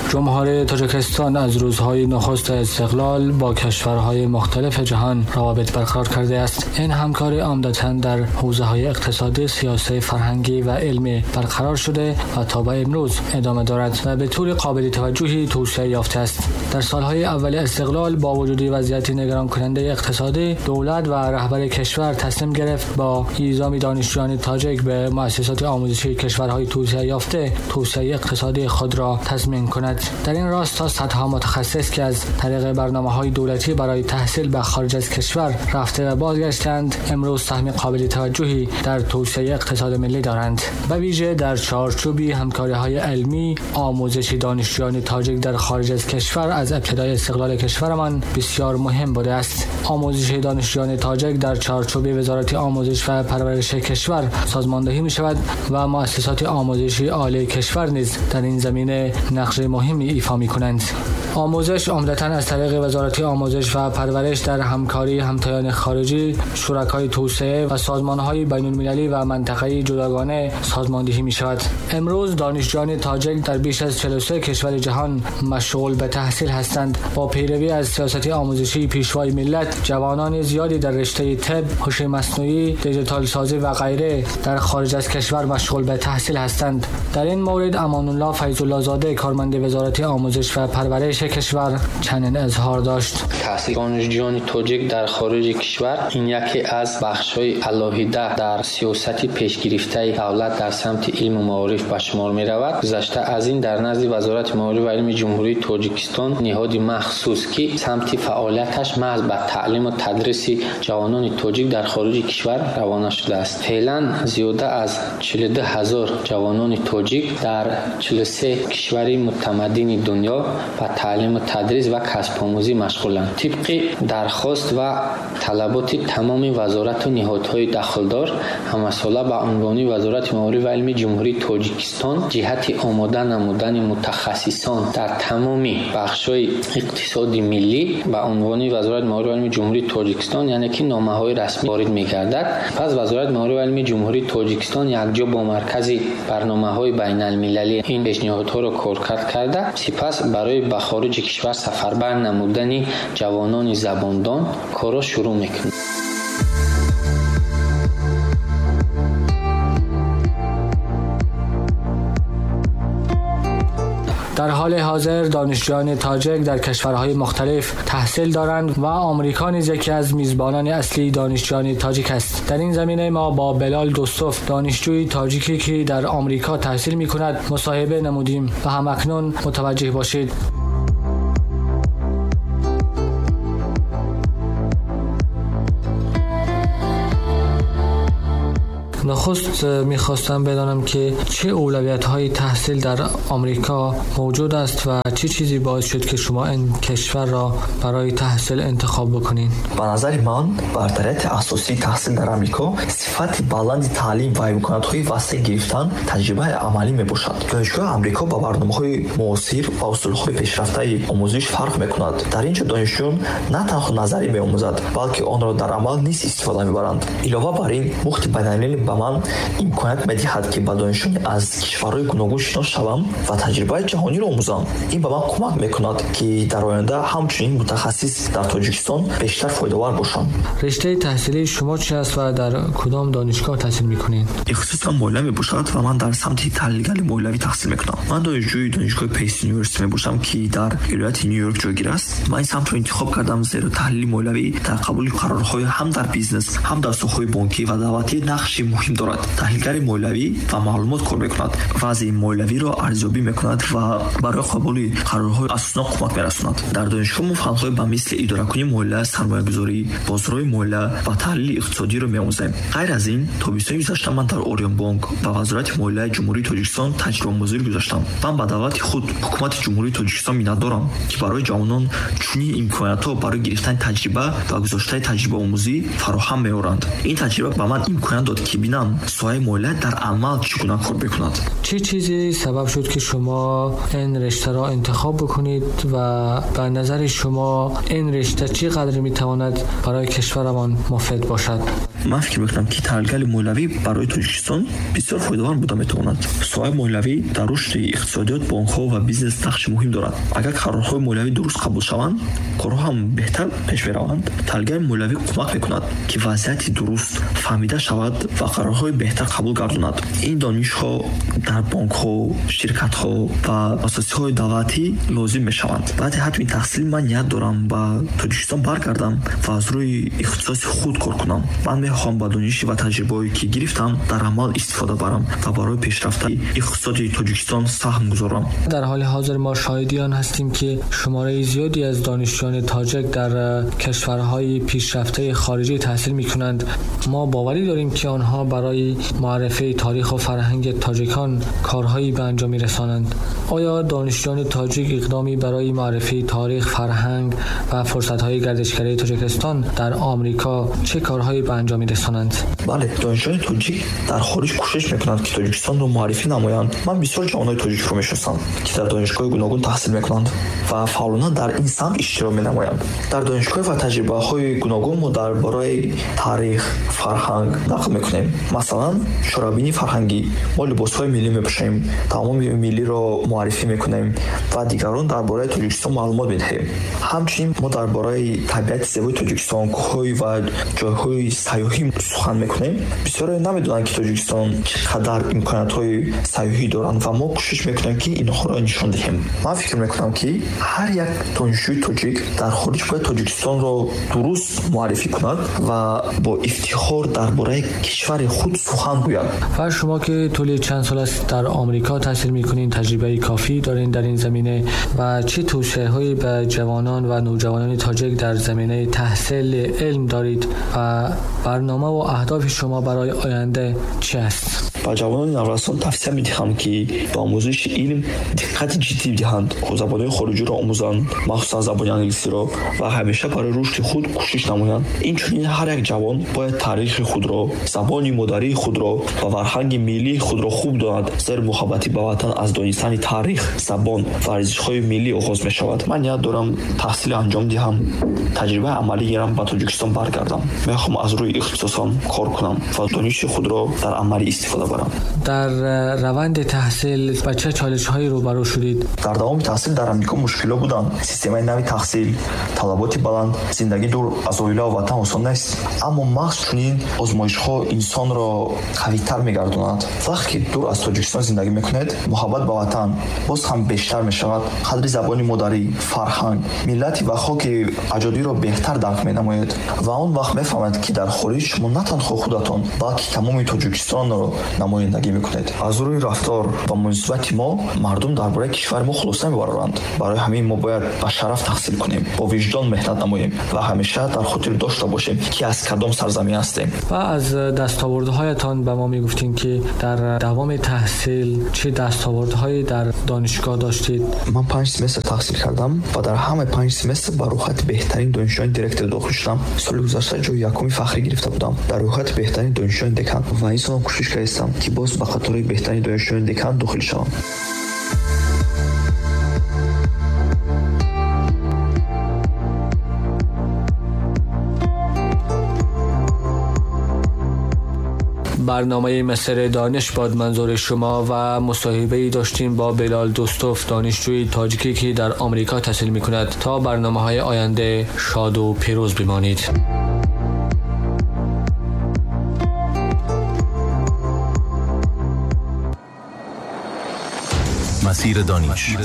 جمهوری تاجیکستان از روزهای نخست استقلال با کشورهای مختلف جهان روابط برقرار کرده است. این همکاری عمدتاً در حوزه‌های اقتصادی، سیاسی، فرهنگی و علمی برقرار شده و تا به امروز ادامه دارد و به طور قابل توجهی توسعه یافته است. در سالهای اول استقلال با وجود وضعیت نگران کننده اقتصادی، دولت و رهبر کشور تصمیم گرفت با اعزام دانشجویان تاجیک به مؤسسات آموزشی کشورهای توسعه یافته توسعه اقتصادی خود را تضمین کند. در این راستا صدها متخصص که از طریق برنامه‌های دولتی برای تحصیل به خارج از کشور رفته و بازگشتند، امروز سهم قابل توجهی در توسعه اقتصاد ملی دارند. به ویژه در چارچوب همکاری‌های علمی، آموزش دانشجویان تاجیک در خارج از کشور از ابتدای استقلال کشورمان بسیار مهم بوده است. آموزش دانشجویان تاجیک در چارچوب وزارت آموزش و پرورش کشور سازماندهی می‌شود و مؤسسات آموزشی عالی کشور نیز در این زمینه نقش مهمی ایفا می‌کنند. آموزش عمدتاً از طریق وزارت آموزش و پرورش در همکاری همتایان خارجی، شرکای توسعه و سازمان‌های بین‌المللی و منطقه‌ای جداگانه سازماندهی می‌شود. امروز دانشجویان تاجیک در بیش از 43 کشور جهان مشغول به تحصیل هستند. با پیروی از سیاست آموزشی پیشوای ملت، جوانان زیادی در رشته طب، هوش مصنوعی، دیجیتال سازی و غیره در خارج از کشور مشغول به تحصیل هستند. در این مورد امان الله فیض الله زاده، کارمند وزارت آموزش و پرورش کشور، چنین اظهار داشت: تحصیل دانشجویان تاجیک در خارج کشور این یکی از بخش‌های علاهیده در سیاست پیش گرفته دولت در سمت علم و معارف به شمار می‌رود. گذشته از این در نزد وزارت معارف و علم جمهوری تاجیکستان نهاد مخصوص که سمت فعالیتش محض به تعلیم و تدریس جوانان تاجیک در خارج کشور روانه شده است. فعلا زیاده از 42,000 جوانان تاجیک در 43 کشور متمدن دنیا به تعلیم و تدریس و کسب آموزی مشغولند. طبق درخواست و طلبات تمام وزارت و نهادهای دخلدار، همساله به عنوان وزارت معارف و علم جمهوری تاجیکستان جهت آماده نمودن متخصصان در تمام بخش‌های اقتصاد ملی به عنوان وزارت معارف و علم جمهوری تاجیکستان، یعنی که نامه‌های رسمی وارد می‌گردد. پس وزارت معارف و علم جمهوری تاجیکستان یکجا با مرکز برنامه‌های بین‌المللی این پیشنهادها را کارکرد کرده، سپس برای به خارج کشور سفربر نمودن جوانان زباندان کارا شروع می‌کند. در حال حاضر دانشجویان تاجیک در کشورهای مختلف تحصیل دارند و آمریکا نیز یکی از میزبانان اصلی دانشجویان تاجیک است. در این زمینه ما با بلال دوستوف، دانشجوی تاجیکی که در آمریکا تحصیل می‌کند، مصاحبه نمودیم و همکنون متوجه باشید. نخست میخواستم بدانم که چه اولویت‌های تحصیل در آمریکا موجود است و چه چیزی باعث شد که شما این کشور را برای تحصیل انتخاب بکنین؟ به نظر من برتریت اساسی تحصیل در آمریکا صفت بلند تعلیم و امکانات‌های وسیع گرفتن تجربه عملی میباشد. دانشگاه آمریکا با برنامه‌های معاصر و اصول‌های پیشرفته آموزش فرق میکند. در اینجا دانشجویان نه تنها نظری می‌آموزند، بلکه آن را در عمل نیز استفاده می‌برند. علاوه بر این، مخت بین‌المللی به من имконият медиҳад, ки ба донишҷӯёни аз кишварҳои гуногун шинос шавам ва таҷрибаи ҷаҳониро омӯзам. Ин ба ман кӯмак мекунад, ки дар оянда ҳамчунин мутахассис дар Тоҷикистон бештар фоидавар бошам. Риштаи таҳсилии шумо чи аст ва дар кудом донишгоҳ таҳсил мекунед? Ихтисосам молия мебошад ва ман дар самти таҳлилгари молиявӣ таҳсил мекунам. Ман донишҷӯи донишгоҳи Пейс Юниверсити мебошам, ки дар вилояти Нью-Йорк ҷойгир аст. Ман ин самтро интихоб кардам, зеро таҳлили молиявӣ дар қабули қарорҳои ҳам дар бизнес, ҳам дар соҳаҳои бонкӣ ва давлатӣ нақши муҳим дорад. Таҳлилгари молиявӣ ва маълумот кор мекунад, вазъи молиявиро арзёбӣ мекунад ва барои қабули қарорҳои асоснок кӯмак мерасонад. Дар донишгоҳ мо фанҳои ба мисли идоракунии молия, сармоягузорӣ, бозорҳои молия ва таҳлили иқтисодиро меомӯзем. Ғайр аз ин, тобистони гузашта ман дар Ориёнбонк ва Вазорати молияи Ҷумҳурии Тоҷикистон таҷрибаомӯзӣ гузаштам. Ман ба давлати худ, ҳукумати Ҷумҳурии Тоҷикистон миннатдорам, ки барои ҷавонон чунин имкониятҳо барои гирифтани таҷриба ва гузоштани таҷрибаомӯзӣ фароҳам меоранд. Ин таҷриба ба ман имконият дод, ки бинам соҳаи молия дар амал чӣ гуна кор мекунад. Чӣ чизе сабаб шуд, ки шумо ин риштаро интихоб бикунед ва ба назари шумо ин ришта чӣ қадр метавонад барои кишварамон муфид бошад? Ман фикр мекунам, ки таҳлилгари молиявӣ барои Тоҷикистон бисёр фоидавар буда метавонад. Соҳаи молиявӣ дар рушди иқтисодиёт, бонкҳо ва бизнес нақши муҳим дорад. Агар қарорҳои молиявӣ дуруст қабул шаванд, корҳо ҳам беҳтар пеш мераванд. Таҳлилгари молиявӣ кӯмак мекунад, ки вазъияти дуруст фаҳмида шавад ва қарорҳои беҳтар қабул гардонад. Ин донишҳо дар бонкҳо, ширкатҳо ва муассисаҳои давлатӣ лозим мешаванд. Баъди хатми таҳсил ман ният дорам ба Тоҷикистон баргардам ва аз рӯи ихтисоси худ кор кунам. Ман мехоҳам ба дониши ва таҷрибаҳое, ки гирифтам, дар амал истифода барам ва барои пешрафтаи иқтисоди Тоҷикистон саҳм гузорам. Дар ҳоли ҳозир мо шоҳиди он ҳастем, ки шумораи зиёди аз донишҷӯёни тоҷик дар кишварҳои пешрафтаи хориҷӣ таҳсил мекунанд. Мо боварӣ дорем, ки онҳо барои معرفی تاریخ و فرهنگ تاجیکان کارهایی به انجام می‌رسانند. آیا دانشجویان تاجیک اقدامی برای معرفی تاریخ، فرهنگ و فرصت‌های گردشگری تاجیکستان در آمریکا چه کارهایی به انجام می‌رسانند؟ بله، دانشجویان تاجیک در خارج کوشش می‌کنند که تاجیکستان را معرفی نمایند. من بسیار جوانای تاجیک را می‌شناسم که در دانشگاه گوناگون تحصیل می‌کنند و فعالانه در این سمت اشتراک می‌نمایند. در دانشگاه و تجربه‌های گوناگون ما درباره تاریخ، فرهنگ نقل می‌کنیم. مثلا чорабинии фарҳангӣ, мо либосҳои миллӣ мепӯшем, таоми миллиро муаррифӣ мекунем ва дигарон дар бораи Тоҷикистон маълумот медиҳем. Ҳамчунин мо дар бораи табиати зебои Тоҷикистон, кӯҳҳои ва ҷойҳои сайёҳӣ сухан мекунем. Бисёре намедонанд, ки Тоҷикистон чӣ қадар имкониятҳои сайёҳӣ доранд ва мо кӯшиш мекунем, ки инҳоро нишон диҳем. Ман фикр мекунам, ки ҳар як донишҷӯи тоҷик дар хориҷ бояд Тоҷикистонро дуруст муаррифӣ кунад ва бо ифтихор дар бораи кишвари худ сухан гӯяд. و شما که طول چند سال است در آمریکا تحصیل میکنین، تجربه کافی دارین در این زمینه و چه توصیه‌هایی به جوانان و نوجوانان تاجیک در زمینه تحصیل علم دارید و برنامه و اهداف شما برای آینده چه است؟ ба ҷавонони наврасон тавсия медиҳам, ки ба омӯзиши илм диққати ҷиддӣ диҳанд, забонҳои хориҷиро омӯзанд, махсусан забони англисиро, ва ҳамеша барои рушди худ кӯшиш намоянд. Инчунин ҳар як ҷавон бояд таърихи худро, забони модарии худро ва фарҳанги миллии худро хуб донад, зеро муҳаббати ба ватан аз донистани таърих, забон ва арзишҳои миллӣ оғоз мешавад. Ман ният дорам таҳсил анҷом диҳам, таҷрибаи амалӣ гирам, ба Тоҷикистон баргардам. Мехоҳам аз рӯи ихтисосам кор кунам ва дониши худро дар амалӣ истифода барам. Дар раванди таҳсил ба чӣ чолишҳое рӯбарӯ шудед? Дар давоми таҳсил дар Амрико мушкилҳо буданд. Системаи нави таҳсил, талаботи баланд, зиндагӣ дур аз оила ва ватан осон нест. Аммо маҳз чунин озмоишҳо инсонро қавитар мегардонад. Вақте ки дур аз Тоҷикистон зиндагӣ мекунед, муҳаббат ба ватан боз ҳам бештар мешавад. Қадри забони модарӣ, фарҳанг, миллати ва хоки аҷодиро беҳтар дарк менамоед ва он вақт мефаҳмед, ки дар хориҷ шумо на танҳо худатон, балки тамоми Тоҷикистонро намояндагӣ мекунед. Аз рӯи рафтор ва муносибати мо мардум дар бораи кишвари мо хулоса мебароранд. Барои ҳамин мо бояд ба шараф таҳсил кунем, бо виҷдон меҳнат намоем ва ҳамеша дар хотир дошта бошем, ки аз кадом сарзамин ҳастем. Ва аз дастовардҳоятон ба мо мегуфтем, ки дар давоми таҳсил чӣ дастовардҳое дар донишгоҳ доштед? Ман 5 семестр таҳсил кардам ва дар ҳамаи 5 семестр ба рӯйхати беҳтарин донишҷӯёни директор дохил шудам. Соли гузашта ҷои якуми фахрӣ гирифта будам дар рӯйхати беҳтарин донишҷӯёни декан ва ин солам кӯшиш кардам, ки боз ба қатори беҳтарин донишҷӯёни декан дохил шавам. برنامه مسیر دانش باد منظور شما و مصاحبه‌ای داشتیم با بلال دوستوف، دانشجوی تاجیکی که در آمریکا تحصیل می‌کند. تا برنامه‌های آینده شاد و پیروز بمانید. مسیر دانش.